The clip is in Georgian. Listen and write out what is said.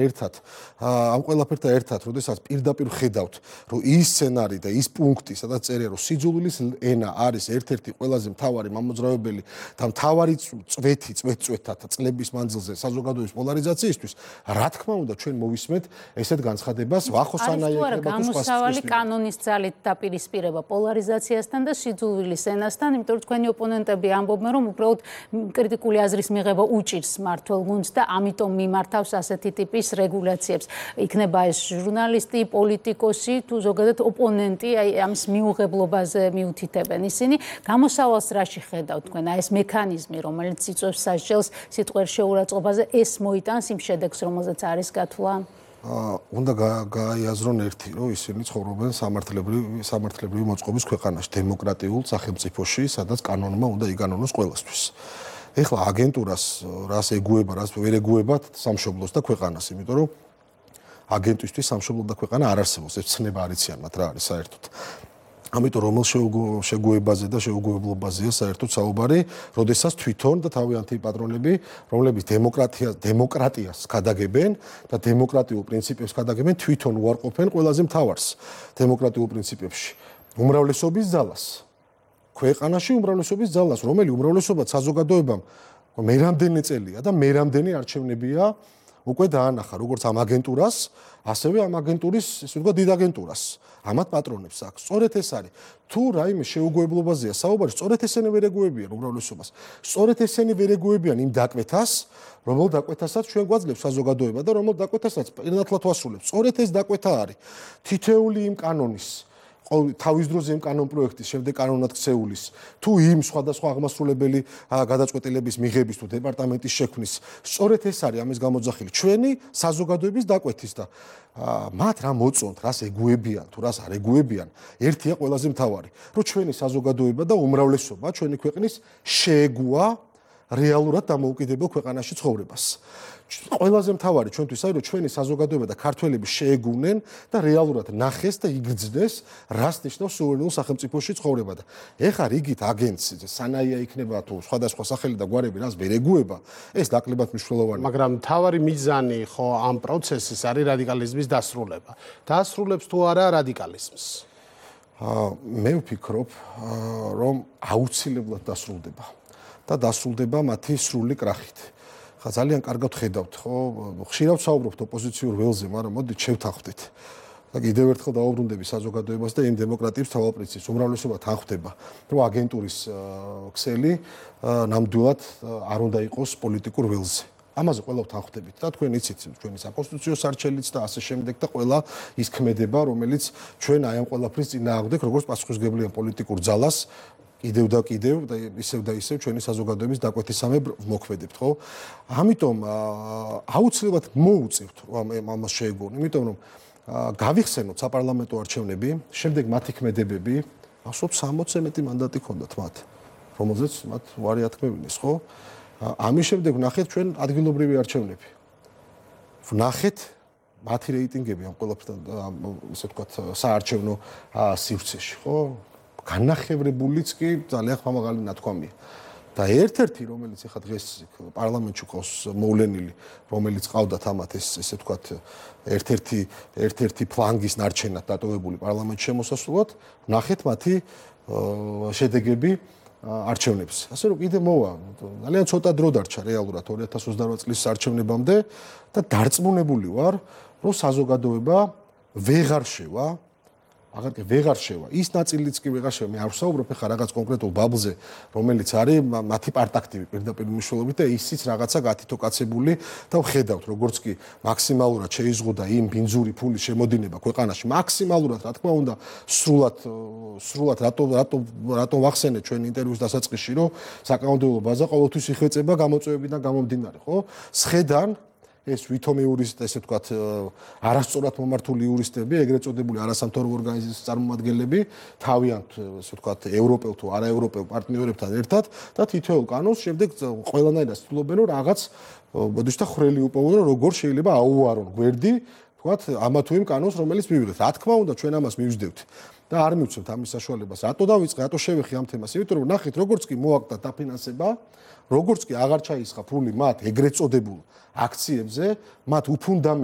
ერთად ამ ყველაფერთან ერთად, როდესაც პირდაპირ ხედავთ, რომ ის სცენარი და ის პუნქტი, სადაც წერია, რომ სიძულვილის ენა არის ერთ-ერთი ყველაზე მთავარი მამოძრავებელი და მთავარი წვეთთა წლების მანძილზე საზოგადოების პოლარიზაციისთვის, რა თქმა უნდა, ჩვენ მოვისმენთ ესეთ განცხადებას, ვახოსანაია იქნება თუ სხვა გამოსავალი კანონის ძალით დაპირისპირება პოლარიზაციასთან და სიძულვილის ენასთან, იმიტომ რომ თქვენი ოპონენტები ამბობენ, რომ უბრალოდ კრიტიკული აზრის მიღება უჭირს მმართველ გუნდს და ამიტომ მიმართავს ასეთი ტიპის რეგულაციებს. იქნება ეს ჟურნალისტი, პოლიტიკოსი თუ ზოგადად ოპონენტი, აი ამის მიუღებლობაზე მიუთითებენ. ისინი გამოსავალს რაში ხედავთ თქვენ? აი ეს მექანიზმი, რომელიც იწვევს სასჯელს სიტყვიერ შეურაცხყოფაზე, ეს მოიტანს იმ შედეგს, რომელზეც არის გათვლა? უნდა გაიაზრონ ერთი, რომ ისინი ცხოვრობენ სამართლებრივი მოწყობის ქვეყანაში, დემოკრატიულ სახელმწიფოში, სადაც კანონმა უნდა იგანონოს ყველასთვის. ეხლა აგენტურას რას ეგუება, რას ვერ ეგუებათ სამშობლოს და ქვეყანას, იმიტომ რომ აგენტისთვის სამშობლო და ქვეყანა არ არსებობს, ეს ცნება არ იციან მათ რა არის საერთოდ. ამიტომ რომელ შეგუებაზე და შეუგუებლობაზეა საერთოდ საუბარი, როდესაც თვითონ და თავიანთი პატრონები, რომლებიც დემოკრატიას გადაგებენ და დემოკრატიულ პრინციპებს გადაგებენ, თვითონ უარყოფენ ყველაზე მთავარს დემოკრატიულ პრინციპებში, უმრავლესობის ძალას. ქვეყანაში უმრავლესობის ძალას, რომელი უმრავლესობაც საზოგადოებამ მე რამდენი წელია და მე რამდენი არჩევნებია უკვე დაანახა, როგორც ამ აგენტურას, ასევე ამ აგენტურის, ისე ვთქვათ, დიდ აგენტურას. ამათ პატრონებს აქვს. სწორედ ეს არის. თუ რაიმე შეუგუებლობაზეა საუბარი, სწორედ ესენი ვერ ეგუებიან უმრავლესობას. სწორედ ესენი ვერ ეგუებიან იმ დაკვეთას, რომელ დაკვეთასაც ჩვენ გვაძლევს საზოგადოება და რომელ დაკვეთასაც პირნათლად ვასრულებთ. სწორედ ეს დაკვეთა არის. თითეული იმ კანონის თავის დროზე იმ კანონ პროექტის შემდეგ კანონად ქცეულის თუ იმ სხვადასხვა აღმასრულებელი გადაწყვეტილების მიღების თუ დეპარტამენტის შექმნის სწორედ ეს არის ამის გამოძახილი ჩვენი საზოგადოების დაკვეთის და მათ რა მოწონთ რას ეგუებიან თუ რას არ ეგუებიან ერთია ყველაზე მთავარი რომ ჩვენი საზოგადოება და უმრავლესობა ჩვენი ქვეყნის შეეგუა რეალურად დამოუკიდებელ ქვეყანაში ცხოვრებას. ყველაზე მთავარი ჩვენთვის არის რომ ჩვენი საზოგადოება და ქართველები შეეგუნენ და რეალურად ნახეს და იგრძნეს რას ნიშნავს სუვერენულ სახელმწიფოში ცხოვრება და ეხლა რიგით აგენტს სანაია იქნება თუ სხვადასხვა სახელი და გვარები რას ვერ ეგუება ეს ნაკლებად მნიშვნელოვანია. მაგრამ მთავარი მიზანი ხო ამ პროცესის არის რადიკალიზმის დასრულება. დაასრულებს თუ არა რადიკალიზმს? მე ვფიქრობ რომ აუცილებლად დასრულდება. და დასრულდება მათი სრული კრახით. ხა ძალიან კარგად ხედავთ, ხო? ხშირად ვსაუბრობთ ოპოზიციურ ველზე, მაგრამ მოდით შევთანხმდით. და კიდევ ერთხელ დავუბრუნდები საზოგადოებას და იმ დემოკრატიის თავალპრინციპს, უმრავლესობა თანხმდება, რომ აგენტურის ქსელი ნამდვილად არ უნდა იყოს პოლიტიკურ ველზე. ამაზე ყველა თანხმდებით და თქვენ იცით, ჩვენი საკონსტიტუციო სარჩელიც და ასე შემდეგ და ყველა ის ქმედება, რომელიც ჩვენ აი ამ ყველაფრის წინააღმდეგ, როგორც პასუხისმგებლიან პოლიტიკურ ძალას კიდევ და ისევ ჩვენი საზოგადოების დაკვეთისამებრ მოქმედებთ, ხო? ამიტომ აუცილებლად მოუწევთ ამას შეეგუონ, იმიტომ რომ გავიხსენოთ საპარლამენტო არჩევნები, შემდეგ მათი ქმედებები, ასობით 60-ზე მეტი მანდატი ჰქონდათ მათ, რომელზეც მათ უარი ათქმევინეს, ხო? ამის შემდეგ ვნახეთ ჩვენ ადგილობრივი არჩევნები. ვნახეთ მათი რეიტინგები ამ ყველაფერთან, ისე ვთქვათ, საარჩევნო სივრცეში, ხო? განახევრებულიც კი ძალიან ხმამაღალი ნათქვამია. და ერთ-ერთი, რომელიც ახლა დღეს პარლამენტში ყავს მოვლენილი, რომელიც ყავდათ ამათ ესე ვთქვათ, ერთ-ერთი ფლანგის ნარჩენად დატოვებული პარლამენტში შემოსასვლელად, ნახეთ მათი შედეგები არჩევნებს. ასე რომ კიდე მოვა, ძალიან ცოტა დრო დარჩა რეალურად 2028 წლის არჩევნებამდე და დარწმუნებული ვარ, რომ საზოგადოება ვეღარ შევა ვეღარ შევა. ის ნაწილიც კი ვეღარ შევა. მე არ ვსაუბრობ ახლა რაღაც კონკრეტულ ბაბლზე, რომელიც არის მათი პარტაქტივი პირდაპირ მნიშვნელობით და ისიც რაღაცა გათითოკაცებული და ვხედავთ, როგორც კი მაქსიმალურად შეიზღუდა იმ ბინძური ფულის შემოდინება ქვეყანაში, მაქსიმალურად, რა თქმა უნდა, სრულად რატომ ვახსენეთ ჩვენ ინტერვიუს დასაწყისში, რომ საკანონმდებლო ბაზა ყოველთვის იხვეწება გამოწვევებიდან გამომდინარე, ხო? სხედან ეს ვითომი იურისტი, ესე ვთქვათ, არასწორად მომართული იურისტები, ეგრეთ წოდებული არასამთავრობო ორგანიზაციის წარმომადგენლები, თავიანთ, ესე ვთქვათ, ევროპელ თუ არაევროპელ პარტნიორებთან ერთად და თითოეულ კანონს შემდეგ ყველანაირად ცდილობენ, რომ რაღაც ბოდიშთა ხრელი უპოვონ, რომ როგორ შეიძლება აუარონ გვერდი თქვათ, ამა თუ იმ კანონს, რომელიც მივიღეთ. რა თქმა უნდა, ჩვენ ამას მივждევთ და არ მივცემთ ამის საშუალებას. რატო დავიწყე, რატო შევეხი ამ თემას? იმიტომ რომ ნახეთ, როგორც კი მოაკვდა დაფინანსება, როგორც კი აღარ ჩაისხა ფული მათ ეგრეთ წოდებულ აქციებზე, მათ უფუნდამენტ